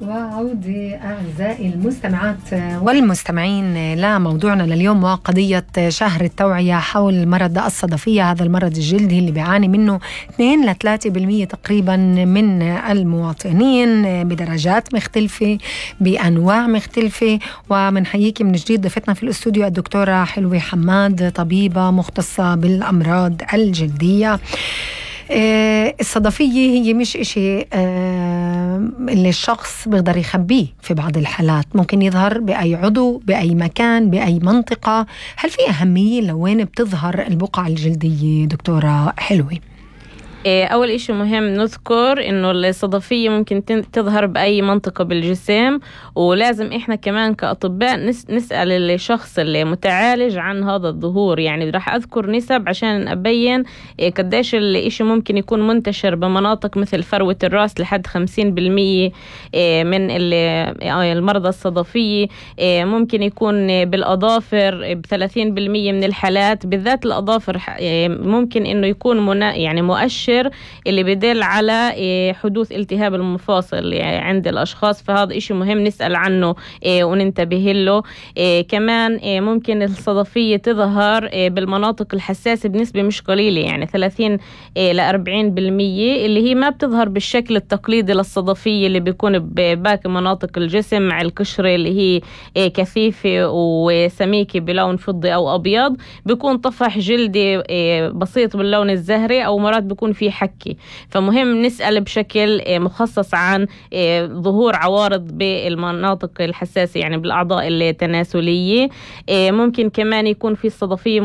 وعودة أعزائي المستمعات والمستمعين لموضوعنا لليوم وقضية شهر التوعية حول مرض الصدفية. هذا المرض الجلدي اللي بيعاني منه 2-3% تقريبا من المواطنين بدرجات مختلفة بأنواع مختلفة. ومنحييكي من جديد ضيفتنا في الاستوديو الدكتورة حلوة حماد، طبيبة مختصة بالأمراض الجلدية. الصدفية هي مش إشي اللي الشخص بيقدر يخبيه، في بعض الحالات ممكن يظهر بأي عضو بأي مكان بأي منطقة. هل في أهمية لوين بتظهر البقع الجلدية دكتورة حلوة؟ أول إشي مهم نذكر إنه الصدفية ممكن تظهر بأي منطقة بالجسم، ولازم إحنا كمان كأطباء نسأل الشخص اللي متعالج عن هذا الظهور. يعني راح أذكر نسب عشان أبين قديش الإشي ممكن يكون منتشر بمناطق مثل فروة الرأس لحد 50% من المرضى الصدفية. ممكن يكون بالأظافر ب30% من الحالات، بالذات الأظافر ممكن إنه يكون يعني مؤشر اللي بدل على حدوث التهاب المفاصل عند الأشخاص. فهذا إشي مهم نسأل عنه وننتبه له. كمان ممكن الصدفية تظهر بالمناطق الحساسة بنسبة مش قليلة، يعني 30-40%، اللي هي ما بتظهر بالشكل التقليدي للصدفية اللي بيكون بباقي مناطق الجسم، مع القشرة اللي هي كثيفة وسميكة بلون فضي أو أبيض. بيكون طفح جلدي بسيط باللون الزهري، أو مرات بيكون في حكي. فمهم نسأل بشكل مخصص عن ظهور عوارض بالمناطق الحساسة، يعني بالأعضاء التناسلية. ممكن كمان يكون في الصدفية